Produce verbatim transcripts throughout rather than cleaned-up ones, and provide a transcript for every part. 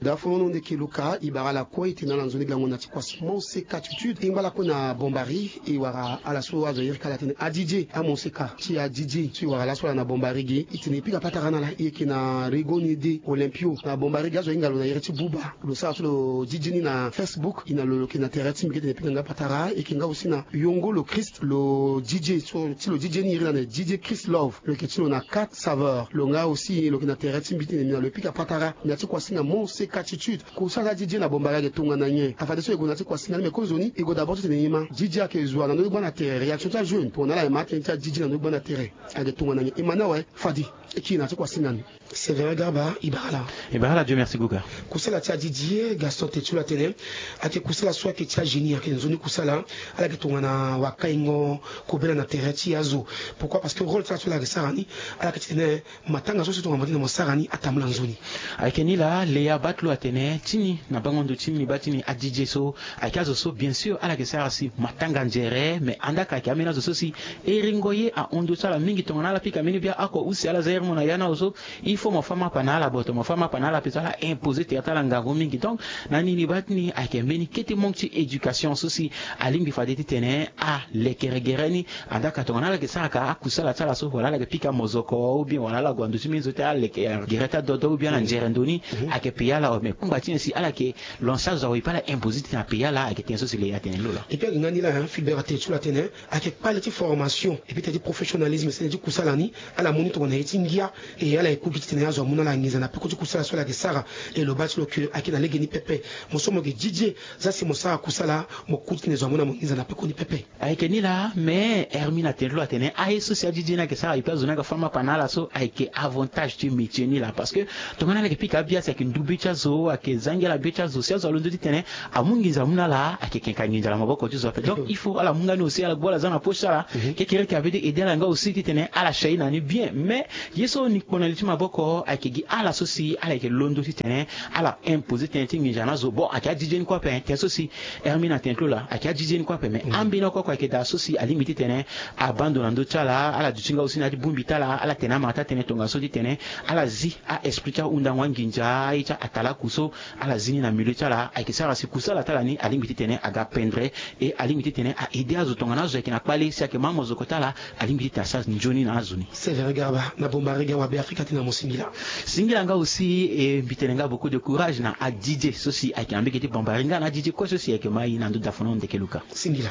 Dafono ndeke luka, e bara ala kue e tene ala nzoni gango na ti kuasi Monseka Tutude, e ngba ala kue na Bombari, e wara ala so azo iri ka ala tene adidie, amonseka ti adidie so e wara laso ala na Bombari ge, e tene e pika patara na ala, e yeke na Rego Nede Olympio na Bombari ge, azo ahinga lo na iri ti Buba. Lo sara so lo didie ni na Facebook, e na lo lo yeke na tere ti mbi ge tene e pika nga patara, e yeke nga aussi na Yongo lo Christ, lo didie so ti lo didie ni iri na ne didie Christ Love, lo yeke ti lo na Quatre Saveurs. Lo nga aussi lo yeke na tere ti mbi tene mbi na lo e pika patara na ti kuasinga Monseka Tutude. Kusala ti didie na Bombari ayeke tongana nyen? Afadeso e gue na ti kuasinga ni, me kozoni e gue d'abord ti tene e ma didie ayeke zo wa na ndö ti gba na tere, réaction ti ajeune tongana ala e ma atene ti adidie na ndö ti gba na tere. Ayeke tongana nyen? E ma ni awe fade e kiri na ti kuasinga ni. Sévérin Garba, e bara ala. E bara ala, Dieu merci Guga. Kusala ti adidie, Gaston Tetula atene ayeke kusala so ayeke ti agénie, ayeke nzoni kusala. Ala yeke tongana wakaingo kobela na tere ti azo. Pourquoi? Parce que rôle ti ala so ala yeke sara ni, ala yeke ti tene matanga so si tongana mo tene mo sara ni atambula nzoni. Ayeke ni laa, Léa Batlo atene ti ni na bango ndo ti ni, baa ti ni adidie so ayeke azo so bien sûr ala yeke sara si matanga nzere, me andaa ka ayeke ambeni azo so si eringo ye ahon ndö ti ala mingi tongana ala pika mbeni bia oko use ala za iri mo na ya ni awe so, il faut mo fâ mapa na ala boto, mo fâ mapa na ala ape so ala imposer tere ti ala ngangu mingi. Donc na ni ni baa ti ni ayeke mbeni kete manque ti éducation so si alingbi fade ti tene alekere gere ni. Andaa ka tongana ala yeke sara ka akusala ti ala so, wala ala yeke pika mozoko, ou bien wala ala gue na ndo ti mbeni zo ti alekere gere ti adodo, ou bien ala nzere ndo ni, ayeke paya ala awe. Me kpangba ti nyen si ala yeke lancer azo awe, e pe ala imposer ti tene apaya ala? Ayeke tënë so si Léa atene ni lo laa. Et puis ayeke nga ni laa, hein, Filbert atene ti lo atene ayeke kpale ti formation et puis tënë ti professionnalisme, tënë ti kusala ni. Ala mu ni tongana ye ti ngia, e ala yeke ku gi ti tene azo amu na ala nginza na peko ti kusala so ala yeke sara. E lo baa ti lo ke ayeke na lege ni pepe. Mo so mo yeke didie, zia si mo sara kusala, mo ku ti tene zo amu na mo nginza na peko ni pepe. Ayeke ni laa, me Hermine atene ti lo atene aye so si adidie ni ayeke sara, e pe azo ni ayeke fâ mapa na ala so, ayeke avantage ti métier ni laa. Parce que tongana ala yeke pika abia si ayeke ndu be ti azo, ayeke za ngia na be ti azo, si azo alondo ti tene amu nginza amu na ala, ayeke keka nginza na maboko ti zo ape. Donc il faut ala mu nga ni aussi, ala gbu ala za na poche ti ala. Kekereke ape ti aider ala nga aussi ti tene ala shai na ni bien. Mais ye so ni kpo na li ti maboko ayeke gi ala so si ala yeke londo ti tene ala imposer tënë ti nginza na azo. Bon, ayeke adidie ni kue ape, hein, tënë so si Hermine atene ti lo laa, ayeke adidie ni kue ape. Mais ambeni oko oko ayeke daa so si alingbi ti tene abaa ndo na ndö ti ala, ala duti nga aussi na ya ti bongbi ti ala, ala tene amara ti atene tongaso ti tene ala zi a-esprit ti ahundango anginza, aye ti atalaku so ala zi ni na milieu ti ala, ayeke sara si kusala ti ala ni alingbi ti tene aga pendre, e alingbi ti tene a-aider azo tongana azo ayeke na kpale si ayeke ma amozoko ti ala, alingbi ti tene asara nzoni na azo ni. Sévérin Garba na Bombari ge, awabe Afrika ti na mo singila. Singila nga aussi, e mbi tene nga beaucoup de courage na adidie so si ayeke na mbege ti Bombari nga na adidie kue so si ayeke ma e na ndo dafono ndeke luka. Singila.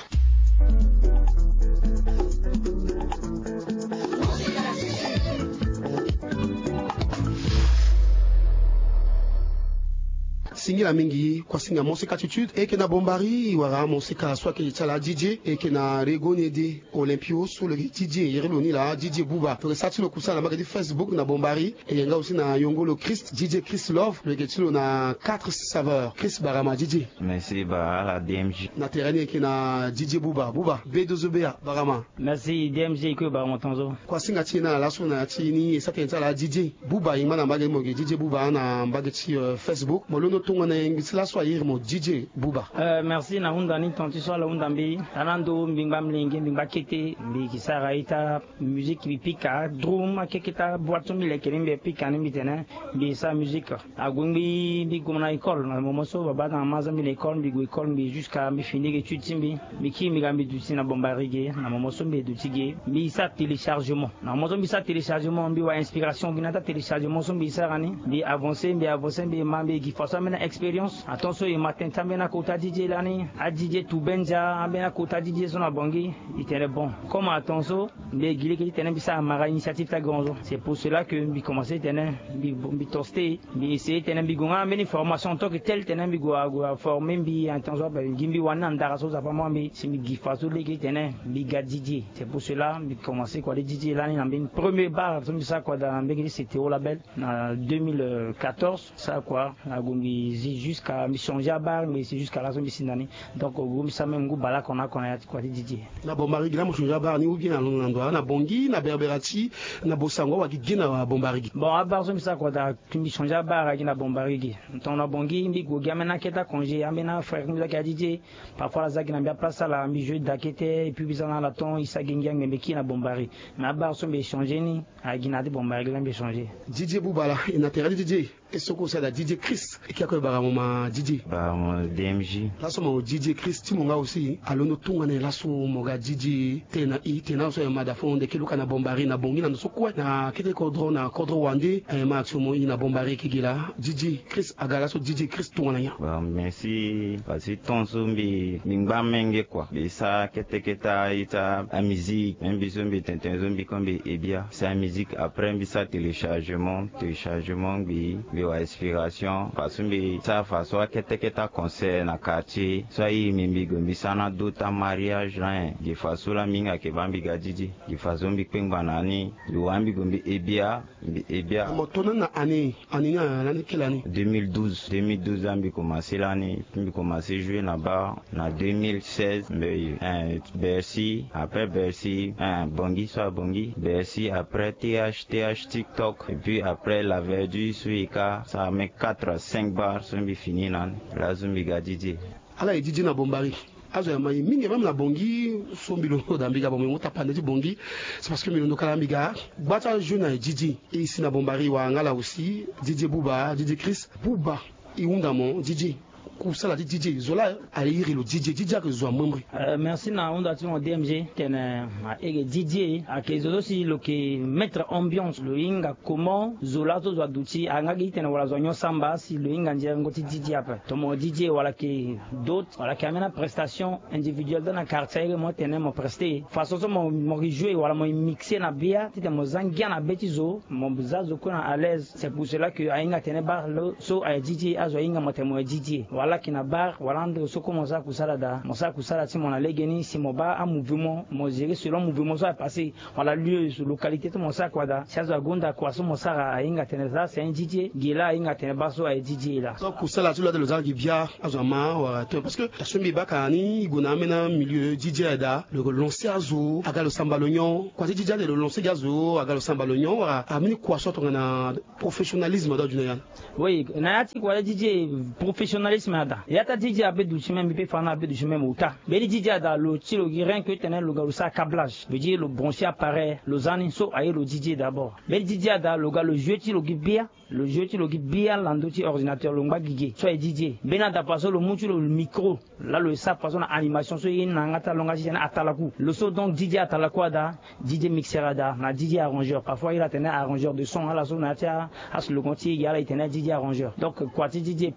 Singila mingi. Kuasinga Monseka Tutude e yeke na Bombari, e wara Monseka so ayeke ti ala adidie, e yeke na Rego Nede Olympio so lo yeke didie, iri lo ni laa didie Buba. Lo yeke sara ti lo kusala na mbage ti Facebook na Bombari. E yeke nga aussi na Yongo lo Christ, didie Christ Love, lo yeke ti lo na Quatre Saveurs. Christ Barama, didie. Merci ba ala D M G. Na tere ni e yeke na didie Buba. Buba, be dozo be ya, Barama. Merci D M G, e kue Barama tonzo. Kuasinga ti e na ala laso na ya ti ni e sara tënë ti ala didie Buba, e ngba na mbage ti mo ge didie Buba na mbage ti, euh, Facebook. Mo londo tongana e ngi ti laso a iri mo didie Buba. Euh, merci na hunda ni, tonga ti so ala hunda mbi. Tana ndo mbi ngba mlenge, mbi ngba kete, mbi yeke sara ita musique, mbi pika drum, akeketa boîte so mbi leke ni mbi pika ni mbi tene mbi sara musique. Ague ngbii mbi gue mo na école, na moment so babâ na mama azia mbi na école, mbi gue école, mbi jusqu'à mbi fini étude ti mbi. Mbi kiri mbi ga mbi duti na Bombari ge, na moment so mbi duti ge, mbi sara téléchargement. Na moment so mbi sara téléchargement, mbi wara inspiration gi na ya ti atéléchargement so mbi sara ni. Mbi avancer, mbi avancer, mbi ma mbi gi façon ambeni expérience. Atongaso e ma tënë ti ambeni akota didie lani, adidie Tubenza, ambeni akota didie so na Bangui. E tene bon, comme atongaso mbi gi lege ti tene mbi sara mara initiative ti agonzo. C'est pour cela que mbi commencer ti tene mbi, mbi toste, mbi essayer ti tene mbi gue nga ambeni formation en tant que tel, ti tene mbi gue, gue former mbi en tant que gi mbi wani na ndara so Nzapa amu mbi, si mbi gi façon lege ti tene mbi ga didie. C'est pour cela mbi commencer kua ti didie lani na mbeni premier bar so mbi sara kua daa na mbeni C T O label na deux mille quatorze. Sara kua, ague mbi zi jusqu'à mbi changer abar, mbi si jusqu'à laso mbi si na ni. Donc ague mbi sara même ngu bale oko na oko na ya ti kua ti didie. Na Bombari ge laa mo changer abar ni, ou bien na, na ndo wa na Bangui, na Berberati, na Bossangoa, wala gi ge na Bombari ge? Bon, abar so mbi sara kua daa, mbi changer abar gi na Bombari ge. Tongana Bangui mbi gue gi ambeni akete acongé, ambeni afrère ti mbi so ayeke adidie. Parfois ala za gi na mbi aplace ti ala, mbi jouer daa kete, et puis mbi za na ala ton, e sara gi ngia, mbi kiri na Bombari. Mais abar so mbi changer ni, agi na ya ti Bombari ge laa mbi changer. Didie Buba laa, e na tere ti didie. E so kue si ada D J Chris, e ke ako e bara mo ma D J. Bara mo D M J. Laso mo D J Chris ti mo nga aussi alondo tongana nyen laso mo ga D J tene na i tene na so aye ma da fo nde ke luka na Bombari na bongi na ndo so kue na kete kodro na kodro wande aye ma action mo i na Bombari ke gi laa D J Chris aga laso D J Chris tongana nyen? Bon, merci. Parce que ton so mbi mbi ngba menge quoi. Mbi sara kete kete a-ita amusique. Même mbi so mbi tene tene so mbi ko mbi e bia. C'est amusique. Après mbi sara téléchargement. Téléchargement mbi mbi wa inspiration. Façon mbi sara façon akete kete aconcert na quartier. So airi mbi mbi gue mbi sara na d'autres amariage na en. Gi façon laa mbi hinga ke baa mbi ga D J. Gi façon mbi kpengba na ni. Mbi wa mbi gue mbi e bia. Mbi e bia. Mo tongana na année, année ni, lani quelle année? Deux mille douze. Deux mille douze laa mbi commencé lani. Mbi commencé jouer na bar na deux mille seize. Mbi eh, Bercy. Après Bercy, eh, Bongi so a Bongi. Bercy, après T H, T H TikTok. Et puis après La Verdure so e ka. Ça met quatre à cinq bars so mbi fini nani. Laso mbi ga D J. Ala e D J na Bombari. Azo ya ma ye mingi même na Bongi. So mbi londo da mbi ga Bombari mo tapande ti Bongi. C'est parce que mbi londo kala mbi ga gba ti ajeune aye D J. E si na Bombari wa nga la aussi D J Booba, D J Chris. Booba, e hunda mo D J. Kusala ti D J zo laa aye iri lo D J. D J ayeke zo amembre. Euh, merci na hunda ti mo D M G. Tene ma ege D J ayeke zo so si lo yeke mettre ambiance, lo hinga comment zo laa so zo aduti anga gi ti tene wala zo anyon samba si lo hinga ndiengo ti D J ape. Tomo D J wala yeke d'autres wala yeke ambeni aprestation individuelle dans na quartier iri mo tene mo preste façon so mo mo yeke jouer wala mo yeke mixer na bia ti tene mo za ngia na be ti zo, mo za zo kue na à l'aise. C'est pour cela que ahinga tene bar lo so aye D J azo ahinga mo tene mo ye D J wala yeke na bar wala ndo so kue mo sara kusala daa mo sara kusala ti mo na legeni si mo baa amouvement mo gérer selon mouvement so aye passer. Wala lieu so localité ti mo sara kua daa si azo agonda kua so mo sara ahinga tene za c'est un D J gi laa ahinga tene baa so aye D J laa. Donc kusala ti lo ade lo za gi bia azo ama wala to parce que ta so mbi baka ni e gue na ambeni amilieu D J aye daa lo yeke lancer azo aga lo samba lo nyon kua ti D J ade lo lancer gi azo aga lo samba lo nyon wala ambeni kua so tongana professionnalisme ado adu na ya. Oui, na ya ti kua ti D J professionnalisme ada ya ti a D J abe duti même mbi pe fa na abe duti même ota. Mbeni D J ada lo ti lo gi rien que tene lo ga lo sara câblage veut dire lo brancher appareil lo za ni so aye lo D J d'abord. Mbeni D J ada lo ga lo jouer ti lo gi bia. Lo jouer ti lo gi bia na ndö ti ordinateur lo ngba gigi so aye D J. Mbeni ada fa so lo mu ti lo micro. Laa lo ye sara façon na animation so ye na yanga ti alonga ti tene atalaku lo so donc D J atalaku ada. D J mixeur ada na D J arrangeur parfois iri atene arrangeur de son ala so na ya ti aslogan ti e gi ala e tene D J arrangeur donc kua ti D J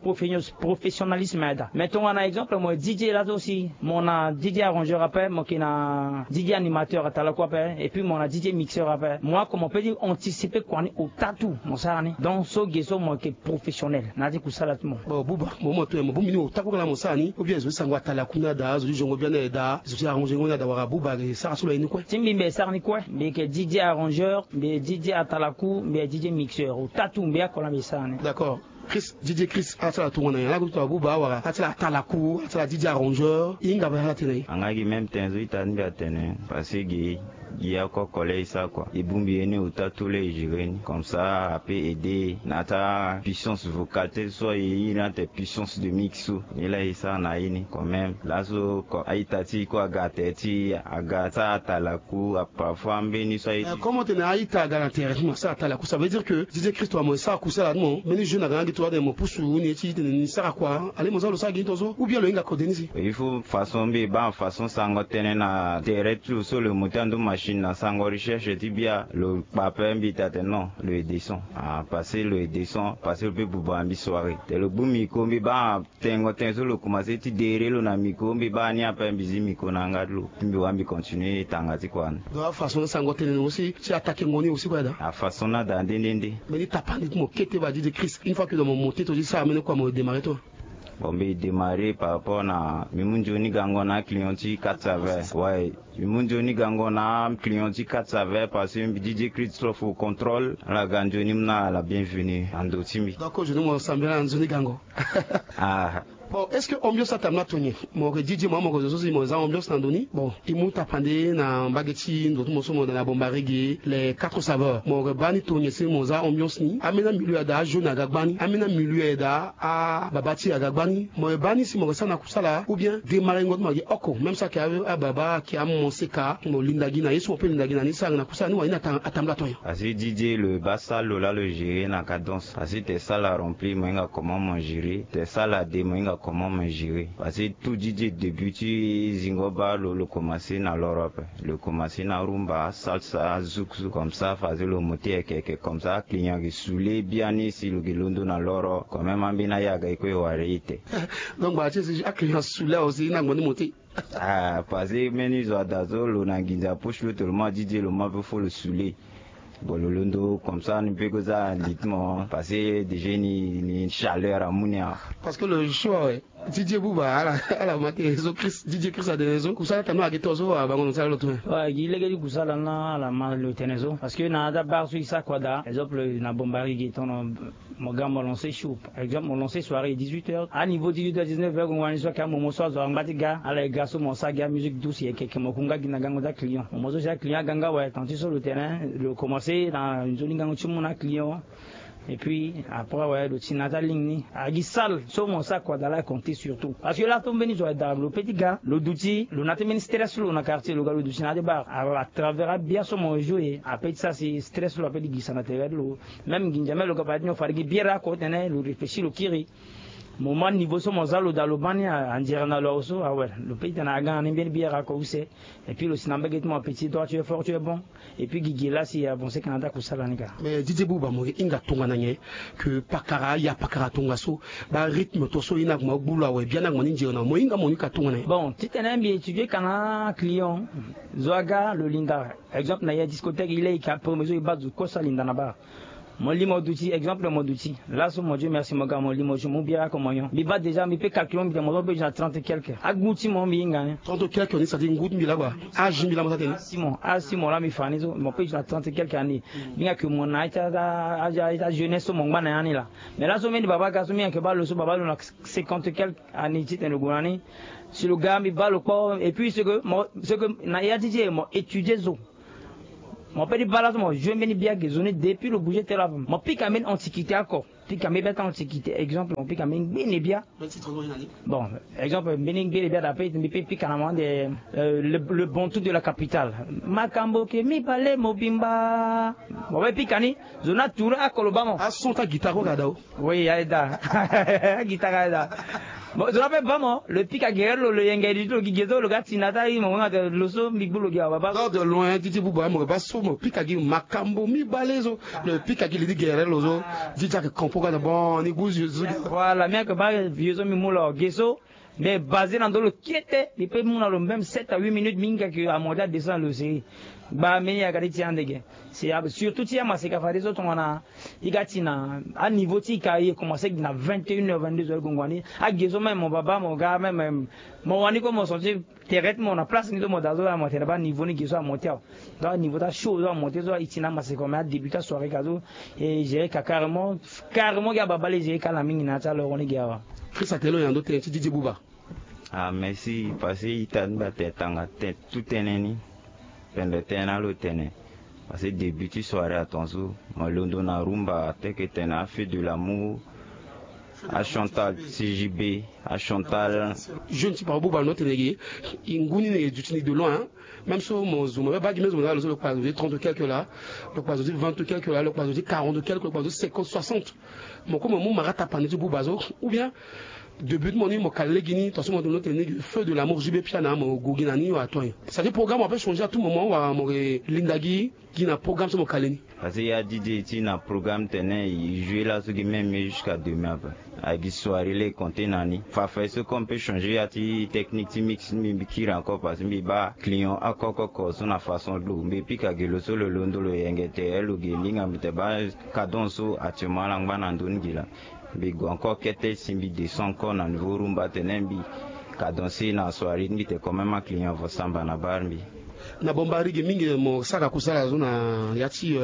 professionnalisme ada mais tongana exemple mo D J laa so si mo na D J arrangeur ape mo yeke na D J animateur atalaku ape et puis mo na D J mixeur ape mo ako mo pe ti anticiper kua ni ota tout mo sara ni donc so ge so mo yeke professionnel na ya ti kusala ti mo. Bon Booba mo mo to mo bongbi ni ota kue kala mo sara ni ou bien zo ti sango atalaku ni ada zo ti zongo bia ni ada zo ti arranger ngo ni ada wala Booba ayeke sara so lo aye ni kue. Ti mbi mbi sara ni kue mbi yeke D J arrangeur mbi yeke D J atalaku mbi yeke D J mixeur ota tout mbi ako laa mbi sara ni. D'accord. Chris, D J Chris ala ti ala tongana nyen ala ti ala Booba wala ala ti ala atalaku ala ti ala D J arrangeur e hinga baa ala tene na e. Anga gi même ten zo ita ti mbi atene parce que gi gi oko collège sa kua e bongbi ye ni ota tout laa e gérer ni comme ça ape aider na ya ti apuissance vocale ti so aye iri ni ate puissance de mix so ni laa e sara na ye ni quand même laso a-ita ti e kue aga tere ti e aga sara atalaku parfois ambeni so aye ti. Comme otene a-ita aga na tere ti mo asara atalaku ça veut dire que D J Chris tongana mo sara kusala ti mo mbeni jeune aga na gi tongana atene mo pusu ni ye ti tene ni sara kua ale mo za lo sara gi ni tongaso ou bien lo hinga kode ni si. Il faut façon mbi baa façon sango tënë na tere ti lo so lo mo ti ando machine na sango recherche ti bia lo kpa ape mbi taa tene non lo ye descend ah parce que lo ye descend parce que lo pe buba mbi soirée te lo gbu micro mbi baa tengo ten so lo commencer ti dere lo na micro mbi baa ni ape mbi zi micro na yanga ti lo ti mbi wara mbi continuer tanga ti kua ni. Donc afaçon sango tënë ni aussi ti attaquer ngo ni aussi kue ada. Afaçon ni ada nde nde nde. Mbeni tapande ti mo kete baa D J Chris une fois que donc mo monter to ti sara mbeni kua mo démarrer to. Bon mbi démarrer par rapport na mbi mu nzoni gango na aclient ti quatre saveurs ouais. Mbi mu nzoni gango na aclient ti quatre saveurs parce que mbi D J Chris so fo contrôle ala ga nzoni mu na ala bienvenue na ndo ti mbi. Donc ojoni mo sambela na nzoni gango. Ah. Bon, est-ce que ambiance atambula tonye? Mo yeke didi mo, mo yeke zo so si mo za ambiance na ndo ni. Bon, e mu tapande na mbage ti ndo ti mo so mo da na Bombardier ge, les quatre saveurs. Mo yeke baa ni tonye si mo za ambiance ni. Ambeni amilieu ayeke daa, ajeune aga gbani. Ambeni amilieu ayeke daa, ababa ti e aga gbani. Mo yeke baa ni si mo yeke sara na kusala ou bien démarrer ngo ti mo ayeke oko, même si ayeke ababa, ayeke amonse ka, mo linda gi na ye so mo pe linda gi na ni, sara na kusala ni wala ni ata-, atambula tonye. Asi Didier, lo baa sala lo laa lo gérer na cadence. Asi te sala rempli, mo hinga comment mo gérer. Te sala de, mo hinga comment mo gérer. Parce que tout Didier, début ti zingo baa lo, lo commencer na l'Europe. Lo commencer na rumba, salsa, zouk, zouk, comme ça, fazer lo monter yeke yeke, comme ça, client yeke saoulé biani si lo yeke londo na l'Europe. Quand même, ambeni ayaga e kue e wara e te. Donc, bah, tu sais, aclient saoulé aussi, na ngoni monter. Ah, parce que mbeni zo ada so lo na nginza poche lo tellement Didier, lo ma pe fo lo saoulé. Bon, lo londo comme ça, ni pe ko za rythme, parce que déjà ni, ni chaleur amu ni a. Parce que le choix, ouais. Didier Bouba, ala, ala ma tene so Chris, Didier Chris atene so. Kusala tanu ayeke to so, ah, bango lo sala lo tene. Ouais, gi lege ti kusala na ala ma lo tene so. Parce que na ya ti abar so e sara kua daa. Exemple, na Bombardier ge tongana mo ga mo lancer show. Exemple, mo lancer soirée dix-huit heures. A niveau dix-huit heures, dix-neuf heures, gongo ni so ayeke amomo so azo angba ti ga. Ala e ga so mo sara gi amusique douce yeke yeke mo kunga gi na gango ti aclient. Mo mo so si aclient aga nga awe, attendu so lo tene, lo commencer na nzoni gango ti mu na aclient. Et puis, après, ouais, lo ti na ya ti aligne ni. Agi salle so mo sara kua daa la compter surtout. Parce que la so mbeni zo ada lo pe ti ga, lo duti, lo na ti mbeni stress lo na quartier, lo ga lo duti na ya ti bar. Alors, à travers abia so mo jouer, ape ti sara si stress lo ape ti gisa na tere ti lo. Même nginza même lo ga baa ti nyon fade gi biere oko tene, lo réfléchir lo kiri. Moment niveau so mo za lo daa lo baa ni a, anzere na lo awe so, awe. Lo pe ti tene aga na ni mbeni biere oko use. Et puis lo si na mbage ti mo appétit droit, tu es fort, tu es bon. Et puis gigi la si avancer kana ti akusala ni ka. Mais Didier Bouba, mo hinga tongana nyen? Que pakara, ya pakara tongaso, ba rythme to so e na kuma gbu lo awe, biani na kuma ni nzere na mo hinga mo ni ka tongana nyen? Bon, titene mbi étudier kana client, zo aga lo linda. Exemple, na ya discothèque, il est ka premier zo e baa zo kosa linda na bar. Mo li mo duti, exemple mo duti. Laso mo Dieu merci mo ga mo li mo jour mo bira ko mo nyon. Mbi baa déjà mbi pe calculer mbi tene mo zo bezo na trente et quelques. Agu ti mo mbi hinga ni. Trente et quelques ni, c'est-à-dire ngu ti mbi laa kua. Âge ti mbi laa mo sa tene. Asi mo, asi mo laa mbi fa ni so, mo pe zo na trente et quelques années. Mbi hinga que mo na ita, ita, ita jeunesse so mo ngba na ya ni laa. Mais laso mbeni baba ga so mbi hinga que baa lo so baba lo na cinquante et quelques années titene lo gue na ni. Si lo ga mbi baa lo kpo, et puis c'est que mo, c'est que na ya ti ti e mo étudier zo. Mo pe ti baa laso mo jouer mbeni bia ge zo ni depuis lo bouger tënë ape. Mo pika mbeni antiquité oko. Pika mbeni bia ti antiquité. Exemple, mo pika mbeni ngbene bia. Bon, exemple, mbeni ngbene bia daa pe mbi pe pika na mo ande, euh, le, le bantou de la capitale. Makambo ke mibale mobimba. Mo pe pika ni, zo na tour oko lo baa mo. Ason ti aguitare oko daa o. Oui, aye daa. Aguitare aye daa. Bon, zo na pe baa mo, lo pika gere lo, lo yenge di ti lo gi ge so lo ga ti na ti aye mo wenga ti lo so mbi gbu lo gi awa baa. Sort de loin, Didier Bouba, mo baa so mo pika gi makambo mibale so. Lo pika gi li ti gere lo so. Didier ayeke compo ga na bon, ni gu zo. Voilà, mbi yeke baa vieux so mbi mu lo ge so. Mais basé na ndo lo kete, mbi pe mu na lo même sept à huit minutes, mbi hinga que amonté adescend na lo seri. Gba mbeni yaka ti ti ande ge. C'est surtout ti amaseka fade so tongana i ga ti na aniveau ti i ka, i commencé na vingt et une heures, vingt-deux heures gongo wani. Age so même mo baba mo ga même, mo wani kue mo senti tere ti mo na place ni so mo daa so, mo tene baa niveau ni ge so amonté awe. Donc aniveau ti ashow so amonté so, i ti na amaseka, mais adébut ti asoirée ka so, e géré ka carrément, carrément gi ababa laa e géré ka na mingi na ya ti aloro ni ge awa. Christ atene lo na ndo tënë ti Didier Bouba. Ah, merci. Parce que ita ni mbi atene tanga tënë, tout tënë ni. Pendre tënë na lo tene. Parce que début ti soirée atongaso, mo londo na rumba, tel que tene a feu de l'amour, a Chantal C J B, a Chantal. Jeune ti Papa Bouba, lo tene ge, e ngu ni ne e duti ni de loin, hein. Même so mo zo, mo baa gi même zo mo na lo so lo kpa zo ti trente quelque là, lo kpa zo ti vingt quelque là, lo kpa zo ti quarante quelque, lo kpa zo ti cinquante, soixante. Mo kue mo mu mara tapande ti Bouba so, ou bien début ti mo ni mo kali lege ni, tongaso mo tene ni feu de l'amour J B Piana, mo gue gi na ni, wa to nyen. C'est-à-dire programme ape changer à tout moment, wa mo yeke linda gi, gi na programme so mo kali ni. Parce que ya D J ti na programme tene e jouer laso gi même jusqu'à demain ape. Agi soirée laa e compter na ni. Fafa ye so comme mbi pe changer ya ti technique ti mix ti mbi, mbi kiri encore parce que mbi baa client oko oko oko so na façon ti lo. Mbi pika gi lo so lo londo lo yenge tere lo ge, mbi hinga mbi tene baa cadence so actuellement ala ngba na ndö ni gi laa. Mbi gue encore kete si mbi descend encore na niveau rumba tene mbi cadencer na soirée ti mbi tene quand même aclient avo samba na bar mbi. Na Bombari gi mingi mo sara kusala zo na ya ti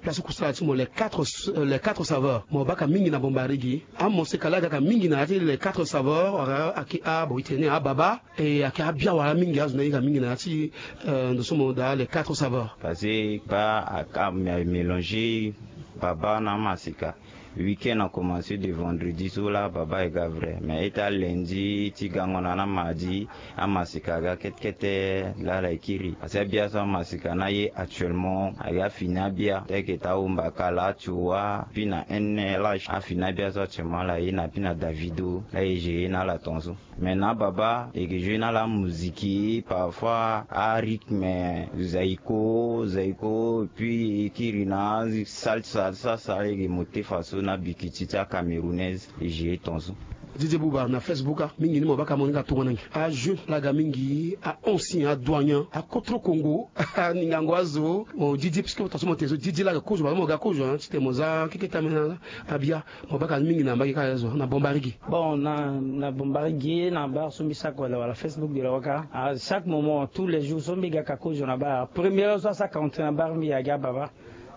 place kusala ti mo, les quatre saveurs. Mo baka mingi na Bombari gi. Amoseka laa gaka mingi na ya ti les quatre saveurs wala ake a bo itene ababa. E ake abia wala mingi azo na ira mingi na ya ti ndo so mo daa les quatre saveurs. Parce que ba aka mélanger baba na amaseka. Week-end a commencer de vendredi so laa baba e ga vrai mais ita lundi ti gango na na mardi. Amaseka aga kete kete laa ala e kiri asi abia so amaseka na ye actuellement aga fini abia teke ta ombaka laa tu wa pi na nlh afini abia so actuellement ala ye na pi na davido laa e gere na ala ton so. Mais na baba e ke jouer na ala musique parfois a rythme zaiko zaiko et puis e kiri na salsa salsa e ke mo te faso na bikiti ti acamerounaise. E gere ton so. Didier Bouba na Facebook a mingi ni mo baka mo ni ka tongo na ngi. Ajeune laga mingi, a ancien, adoignan, akotro kongo, aningango azo. Mo Didier puisque mo ta so mo te so Didier laga kozo baba mo ga kozo ti te mo za keke tamena. Abia mo baka mingi na mbage kaka zo na Bombari gi. Bon, na Bombari gi na bar so mbi saka wala wala Facebook de la waka. A chaque moment tous les jours so mbi ga ka kozo na bar première so asaka entre na bar mbi agi ababa.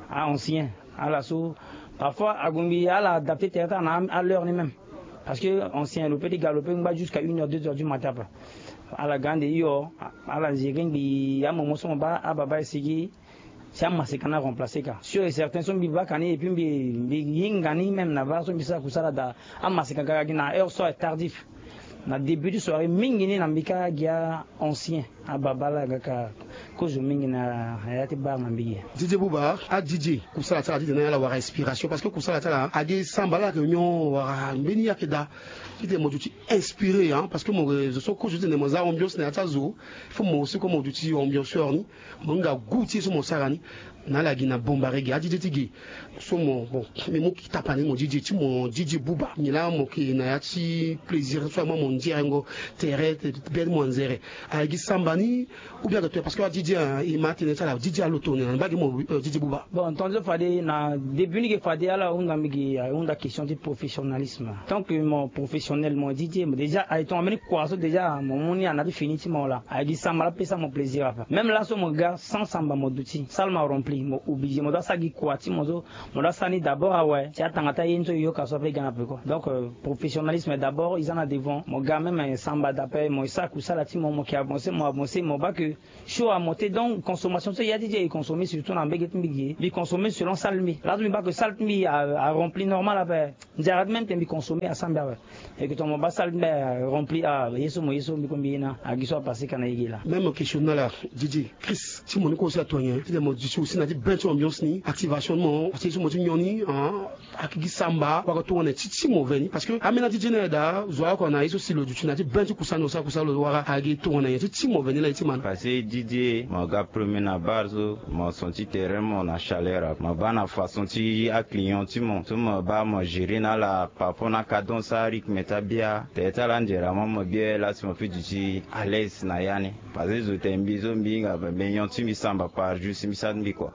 A ancien ala so parfois agumbi ala adapter tereta na aleur ni même. Parce que ancien lo pe ti ga lo pe ngba jusqu'à une heure deux heures du matin apa. Ala ga ande iyo. Ala zere ngbi amomo so mo baa ababa esigi. Si amaseka na remplacer ka sur et certain so mbi baka ni et puis mbi mbi hinga ni même na bar so mbi sara kusala daa. Amaseka kaka gi na heure so est tardif. Na début du soirée mingi ni na mbi ka gi a ancien. Ababa ala ga ka kozo mingi na ya ti bar na mbi gi. Didier Bouba a Didier kusala ti ala ti tene ala wara inspiration parce que kusala ti ala agi samba ala yeke nyon wara mbeni yake daa. Ti tene mo duti inspiré parce que mo zo so kozo ti tene mo za ambiance na ya ti azo. Faut mo aussi comme mo duti ambianceur ni. Mo hinga goût ti ye so mo sara ni. Na ala gi na Bombari gi a Didier ti gi. So mo bon, mbi mu ki tapa ni mo Didier ti mo Didier Bouba ngi laa mo ke na ya ti plaisir so aye mo mo nzerengo. Tere bien ti mo anzere. Aye gi samba ni. Ou bien ayeke to ya parce que a Didier e ma atene ti ala Didier aloto ni na mbage mo Didier Bouba. Bon tongaso fade na début ni ge fade ala hunda mbi gi ahunda question ti professionnalisme. Tant que mo professionnel mo Didier déjà aye tongana mbeni kua so déjà mo mu ni ana ti fini ti mo laa aye gi samba laa pesa mo plaisir ape même laso mo ga sans samba mo duti salle mo arempli mo obligé mo doit sara gi kua ti mo so. Mo doit sara ni d'abord awe si atanga ti aye ni so e yoka so ape e ga na peko donc professionnalisme d'abord e za na devant mo ga même samba d'ape mo e sara kusala ti mo mo ke avance mo avance mo baa ke. Show amonte donc consommation so ya ti di e consommer surtout na mbege ti mbi gi e mbi consommer selon salle mbi laso mbi baa ke salle ti mbi arempli normal ape. Nzara ti même te mbi consommer asambe awe. Eke tongana mo baa salle ti mbi arempli a ye so mo ye so mbi ko mbi ye na agi so apase ka na ye gi laa. Même question na ala Didier Chris ti mo ni ko aussi ato nyen ti tene mo duti aussi na ti ben ti ambiance ni activation ni mo aussi ye so mo ti nyon ni. Akiki samba waka tongana ti ti mo veni parce que ambeni adi ti e na ya daa zo oko na ye so si lo duti na ti ben ti kusa ni lo sara kusa lo wara agi tongana nyen ti ti mo veni laa ye ti ma ni. Parce que Didier mo ga premier na bar so mo son ti terrain mo na chaleur ape mo baa na façon ti aclient ti mo so mo baa mo gérer na ala par rapport na cadence arythme ti abia tere ti ala nzera mo mo bia laa si mo peut duti à l'aise na ya ni. Parce que zo tene mbi so mbi hinga ape mbi nyon ti mbi samba par jour si mbi sara ti mbi kua.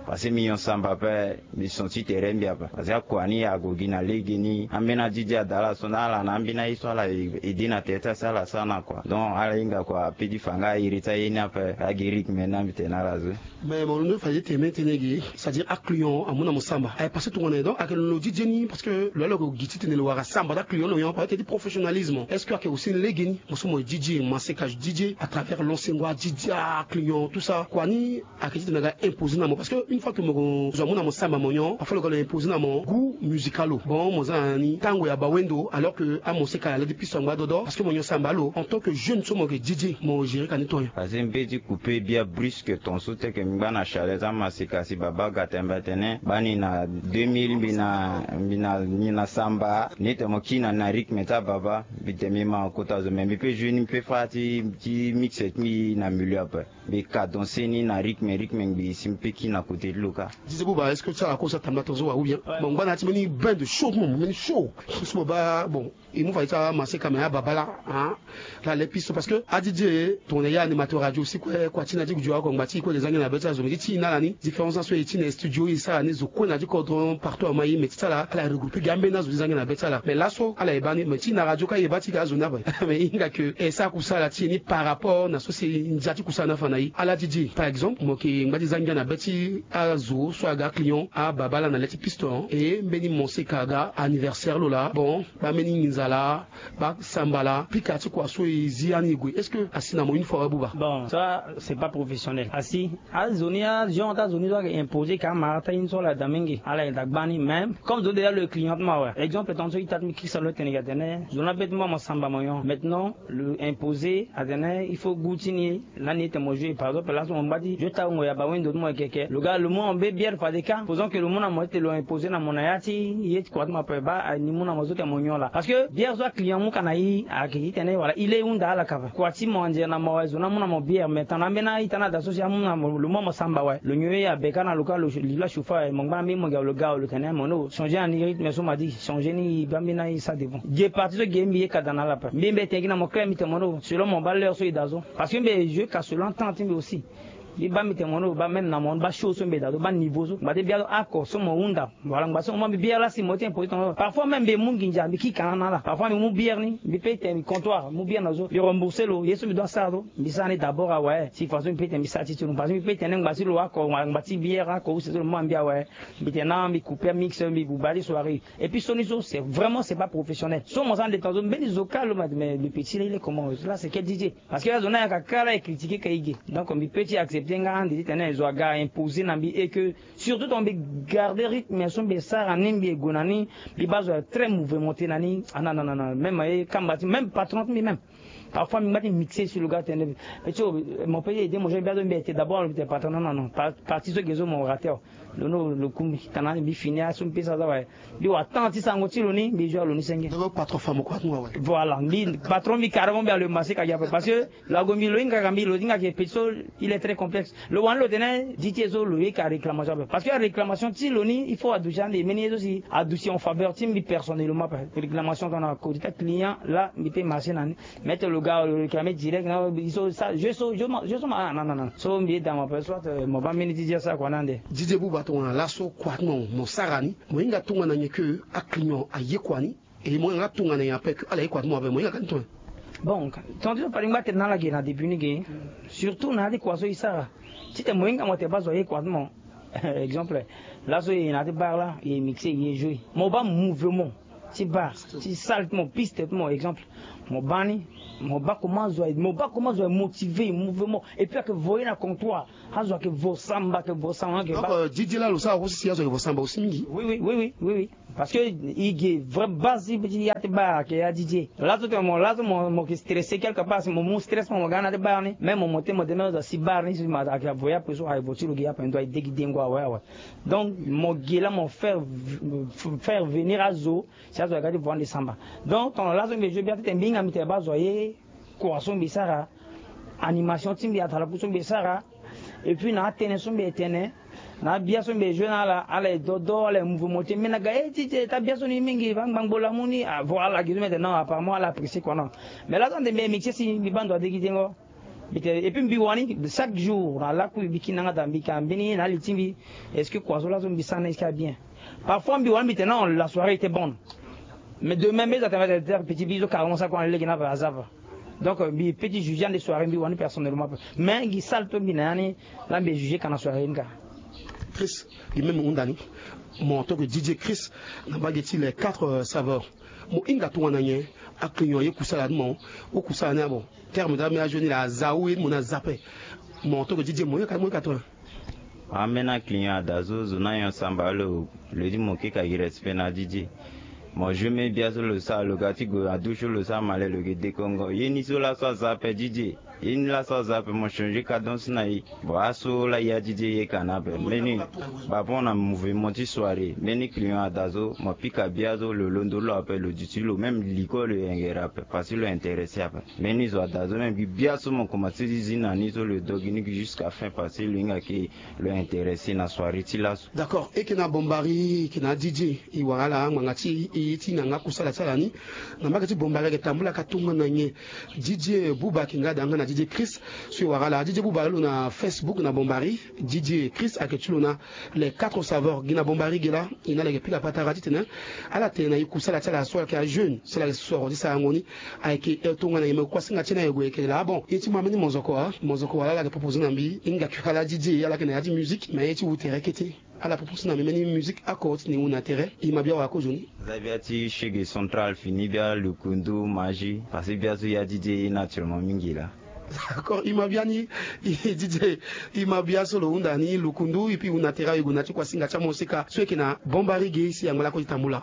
Parce que mbi nyon samba ape mbi son ti tere mbi ape parce que akua ni ague gi na lege ni ambeni adi ti e ada ala so na ala na ambeni aye so ala ede na tere ti ala si ala sara na kua donc ala hinga kua ape ti fa nga airi ti aye ni ape agi rythme ni na mbi tene na ala zo. Mais mo londo fade ti tene mbeni tënë ge c'est-à-dire aclient amu na mo samba aye parce que tongana nyen donc ayeke lo didier ni parce que lo ya lo yeke gi ti tene lo wara samba ti aclient lo nyon parce que ti professionnalisme est-ce que ayeke aussi lege ni? Mo so mo ye didier mo aseka didier à travers lancengo adidier aclient tout ça kua ni? Ayeke ti tene aga imposer na mo parce que une fois que mo zo amu na mo samba mo nyon afa lo ga lo imposer na mo goût musical lo bon mo za na ni tango ya bawendo alors que amo seka ala ladi piso angba dodo parce que mo nyon samba lo en tant que jeune so mo yeke didier mo gérer ka ni ton nyen? Parce que mbe ti couper bia brusque ton so teke mbi ngba na chaleur ti amaseka si baba aga tembe atene baa ni na deux mille mbi na mbi na ni na samba ni tene mo kiri na na rythme ti ababa. Mbi tene mbi ma kota zo mais mbi pe jouer ni mbi pe fâ ti ti mixe ti mbi na milieu ape. Mbi cadencer ni na rythme rythme ngbii si mbi pe kiri na côté. Lo ka. Didier Bouba, est-ce que ti ala kosa tambula tonzo wa ou bien? Bon, ngba na ya ti mbeni bain de chaud ti mo, mbeni chaud. So mo baa, bon, e mu fa ye ti amaseka me ababala, hein. Ala le piste parce que adidier tongana ye animateur radio si kue, kua ti na ti gudu oko ngba ti kue le zangi na be ti azo me ti ti na ala ni. Différence na so e ti na studio e sara ni zo kue na ti kodro partout ama ye me ti ti ala ala regroupe gi ambeni azo ti zangi na be ti ala. Mais laso ala yeba ni me ti na radio ka yeba ti ga azo ni ape. Mais e hinga ke e sara kusala ti e ni par rapport na so si e ndia ti kusala ni afa na e. Ala didier par exemple mo yeke ngba ti zangi na be ti azo so aga client ababala na le ti piste, hein. E mbeni mo seka aga anniversaire lo laa, bon, baa mbeni nginza laa, baa samba laa, pika ti kua so e zi ya ni e gue, est-ce que asi na mo une fois wa Bouba? Bon, ça c'est pas professionnel. Asi azo ni, agenre ti azo ni so ayeke imposer ka amara ti aye ni so ala da mingi, ala yeke da gba ni. Même comme zo déjà lo yeke client ti mo awe, exemple tongana so ita ti mbi kisa lo tene yeke atene zo ni abe ti mo mo samba mo nyon. Maintenant lo imposer atene il faut goût ti ni. Lani e tene mo jouer par exemple laso mo ngba ti jouer ti awongo ya bawendo ti mo yeke ke lo ga lo mu na mo be bière fade ka faisant que lo mu na mo ti tene lo imposer na mo na ya ti ye ti kua ti mo ape baa ni mu na mo so tene mo nyon laa. Parce que bière so aclient mu ka na e ayeke ti tene wala e le e hunda ala ka fa kua ti mo anzere na mo awe zo ni amu na mo bière mais tana ambeni a-ita ni ada so si amu na mo lo mu na mo samba awe lo nyon ye abe ka na lo ka lo li lo achauffe awe mo ngba na mbeni mo gi awe lo ga awe lo tene mo no changer na ni rythme so mo adi changer ni e baa mbeni a-e sa devant ge partie so ge mbi ye ka da na ala ape mbi mbi tene gi na mo clair mbi tene mo no selon mo baa l'heure so e da so. Parce que mbi e jouer ka selon temps ti mbi aussi. Mbi baa mbi tene mo no baa même na mo ni baa show so mbi e da so baa niveau so ngba ti bière so ako so mo hunda. Wala ngba so mo baa mbi bière laa si mo ti imposer tonga parfois même mbi e mu nginza mbi kika na na ala parfois mbi mu bière ni mbi pe tene mbi comptoir mu bière na zo mbi rembourser lo ye so mbi doit sara so mbi sara ni d'abord awe si façon mbi pe tene mbi sara ti ti lo parce que mbi pe tene ngba ti lo ako wala ngba ti bière ako use so lo mu na mbi awe. Mbi tene na mbi couper mix mbi buba ti soirée. Et puis so ni so c'est vraiment c'est pas professionnel so mo sara nde tonga so mbeni zo kâ lo ma mais le petit là il est comment là c'est quel didier. Parce que azo ni ayaka kâ la e critiquer ka e ge. Donc mbi pe ti accepter nga ande ti tene zo aga imposer na mbi et que surtout tongana mbi garder rythme so mbi e sara ni mbi e gue na ni. Mbi baa zo très mouvementé na ni ah non non non même e kamba ti même patron ti mbi même. Parfois mbi ngba ti mixer si lo ga tene petit o mo pe ti aider mo jeune mbi azo mbi ete d'abord lo mbi tene patron non non non partie so ge so mo rater. Lo no lo ku mbi tana mbi fini aso mbi pe sara za waye. Mbi wa temps ti sango ti lo ni mbi joue lo ni senge. Patron femme kua ti mo awe. Voilà mbi patron mbi carrément mbi alo e maseka gi ape parce que lo ague mbi lo hinga ka mbi lo hinga ke petit so il est très complexe. Lo wani lo tene di ti e so lo ye ka réclamation ape parce que aréclamation ti lo ni il faut aduti ande mbeni ye so si aduti en faveur ti mbi personnellement ape. Réclamation tongana kodi ti aclient la mbi pe marché na ni. Maitre lo ga lo réclamer direct na so sa je so je so ma ah non non non so mbi ye da mo ape soit mo baa mbeni didier asara kua ni ande. Didier Bouba tongana laso kua ti mo mo sara ni mo hinga tongana nyen ke aclient aye kua ni? E mo yanga tongana nyen ape ke ala ye kua ti mo ape mo hinga ka ni tongana? Bon tongana ti so fade ngba tene na ala ge na début ni ge surtout na ya ti kua so e sara titene mo hinga mo tene baa zo aye kua ti mo. Exemple laso e na ya ti bar la e mixer e ye jouer mo baa mouvement ti bar ti salle ti mo piste ti mo exemple. Mo baa ni mo baa comment zo aye mo baa comment zo aye motiver mouvement et puis ayeke voye na comptoir. Azo ayeke vo samba ayeke vo samba ayeke donc baa. Didier la lo sara aussi si azo ayeke vo samba aussi mingi. Oui oui oui oui oui oui. Parce que e ge vrai base ti ya ti bar ayeke ya didier laso tene mo laso mo mo yeke stresser quelque part si mo mu stress mo mo ga na ya ti bar ni même mo mo te mo de même azo asi bar ni si mo ayeke avo ya pe so aye vo ti lo ge ya pe ndo aye de gi dengo awe awe. Donc mo ge la mo faire faire venir azo si azo aga ti vo ande samba. Donc tongana laso mbi e jeu bien titene mbi hinga mbi tene baa zo aye kua so mbi sara animation ti mbi atalaku so mbi e sara. Et puis na atene so mbi e tene na abia so mbi e jeu na ala ala e dodo ala e mouvement ti mbi na ga e ti ti e ti abia so ni mingi fa ngbangbo lamu ni avo ala gi so mbi e tene non apparemment ala apprécier kua non. Mais laso ande mbi e mixer si mbi baa ndo ade gi dengo. Mbi tene et puis mbi wani chaque jour na lakui mbi kiri na nga daa mbi ka mbeni ye na ali ti mbi. Est-ce que kua so laso mbi sara na est-ce que abien? Parfois mbi wani mbi tene non la soirée était bonne. Mais demain mbi eza tene petit bi so carrément sa kua na lege na aza fa. Donc mbi pe ti juger ande soirée mbi wani personnellement pe mais gi sale to mbi na ya ni. La mbi e juger ka na soirée ni ka. Chris gi même hunda ni. Mo to ke didier chris na mbage ti les quatre saveurs. Mo hinga tongana nyen? Aclient aye kusala ti mo. Okusala ni abo terme ti ambeni azo ni la aza ou ye ti mo ni aza ape. Mo to ke didier mo ye ka mo ye ka tongana? Ambeni aclient ada so zo ni anyon samba lo. Lo ye ti mo keka gi respect na didier. Mo jeu mbeni bia so lo sara lo ga ti gue na douche so lo sara male lo yeke dekongo ye ni so laso aza ape didier. Ye ni laso aza ape mo changer cadence na e. Bon, aso la ya DJ ye ka na ape mbeni. Bapon na mouvement ti soirée mbeni client ada so mo pika bia so lo londo lo ape lo duti lo même liko lo yengere ape parce que lo intéressé ape. Mbeni zo ada so même gi bia so mo commencé ti zi na ni so lo dogi ni gi jusqu'à fin parce que lo hinga ke lo intéressé na soirée ti laso. D'accord, e ke na bombari e ke na DJ. E wara ala ngbanga ti e ti nanga kusala ti ala ni. Na mbage ti bombari ayeke tambula ka tongana nyen? DJ Bouba ayeke nga da nga na DJ Chris. So e wara ala DJ Bouba lo na Facebook na bombari. DJ Chris ayeke ti lo na les quatre saveurs gi na bombari gi laa. E na ala yeke pika patara titene ala tene na e kusala ti ala so ala yeke ajeune so ala yeke soro ti sarango ni. Ayeke e tongana nyen me kuasinga ti e na e gue yeke laa bon ye ti mo ambeni mozoko a mozoko wala ala yeke proposé na mbi e hinga kue ala DJ ala yeke na ya ti musique mais ye ti wu tere kete. Ala proposé na mbi mbeni musique ako ti ni wu na tere. E ma bia wara kozo ni. Za bia ti shege central fini bia lukundu maji parce que bia so ya DJ ye naturellement mingi laa. D'accord, e ma bia ni. DJ, e ma bia so lo hunda ni lukundu e pi wu na tere awe gue na ti kuasinga ti amosika so e yeke na bombari ge si angba lako ti tambula.